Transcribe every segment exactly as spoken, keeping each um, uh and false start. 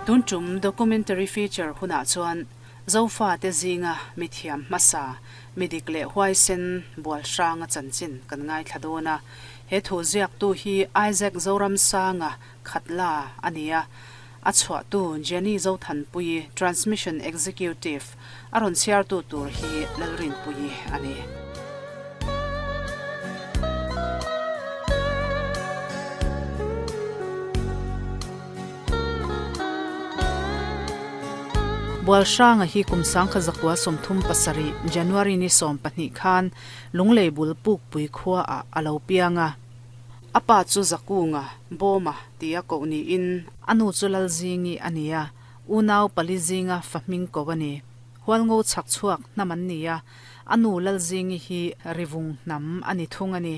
Tun tum documentary feature hunah chuan Zofa te zinga mithiam hmasa midik leh huaisen bual hranga chanchin kan ngai thladona he thu ziak tu hi Isaac Zoramsanga khatla ania a chhuah tu Jenny Zothanpui transmission executive aron chhiar tu tur hi Lalrin pui ani. Bual hranga hi kumsang kha zakwa somthum pasari January ni som pahnih khan lunglei bul puk pui khua a alo pianga apa chu zakunga boma tia ko ni in anu chu lalzingi ania unaw palizinga fahming ko ani hualngo chak chuak naman nia anu lalzingi hi rivung nam ani thung ani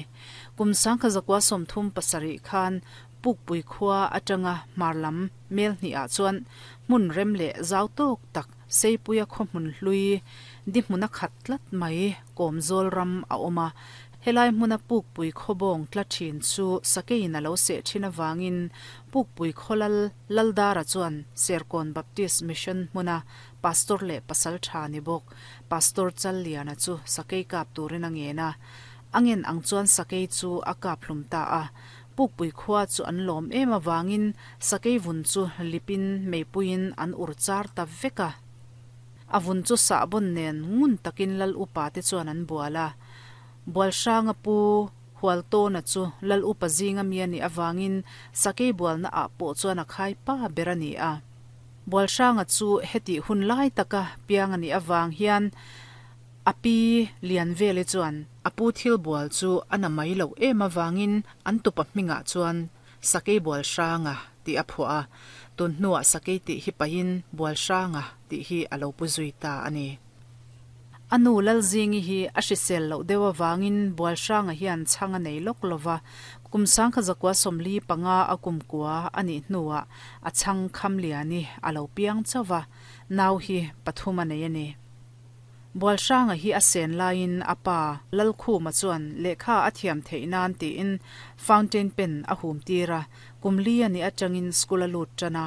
kumsang kha zakwa somthum pasari khan puk pui khua atanga marlam mel ni a chuan mun remle zau tok tak seipuia kho mun hlui di hmuna khatlat mai komzol ram a oma helai hmuna puk pui khobong tlathin chu sakein alo se thina wangin puk pui kholal laldara chuan Serkawn Baptist Mission hmuna pastor le pasal tha ni bok pastor Challiana chu sakei kap turin angena angen ang chuan sakei chu a kap hlum ta a puk pui khua chu an lom em awangin sakei vun chu lipin meipuin an urchar ta veka avun chu sa bon nen ngun takin lal upa te chuan an buala bual hranga pu hualto na chu lal upa zinga miani awangin sakei bual na a po chuan a khai pa berani a bual hranga chu heti hun lai taka piangani awang hian api lian vele chuan apu thil bual chu ana mai lo em awangin an tupa hminga chuan sakei bual hranga ti a phua tun hnuah sakei ti hi pain bual hranga ti hi alo pu zui ta ani. Anu lalzingi hi a hrisel lo dewa wangin bual hranga hian changa nei lok lova kumsang kha zakwa somli panga akum kwa ani hnuwa a chang kham liani alo piang chawa nau hi pathuma nei ani. Bual hranga hi a sen lain apa lalkhu ma chuan lekha a thiam theinan ti in fountain pen a hum tira kumli ani atangin school a lut tana